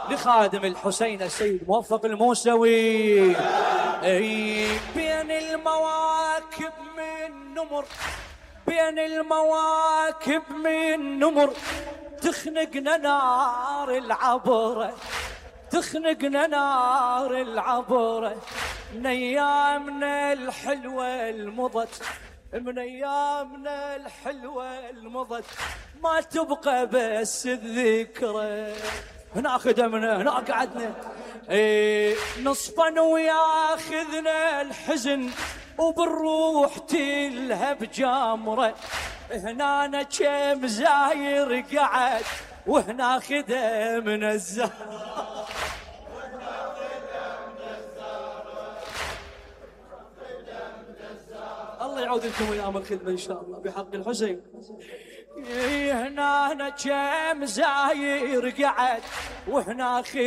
لخادم الحسين السيد موفق الموسوي. بين المواكب من نمر، بين المواكب من نمر، تخنقنا نار العبرة، تخنقنا نار العبرة، من ايامنا الحلوة المضت، من ايامنا الحلوة المضت، ما تبقى بس الذكرى. هنا خدمنا، هنا قعدنا، نصفا وياخذنا الحزن، وبالروح تلهب جامرة. هنا كم زاير قعد، وهنا خدمنا الزهر. الله يعود لكم ايام الخدمه ان شاء الله بحق الحسين. هنا كم زاير قعد، وهنا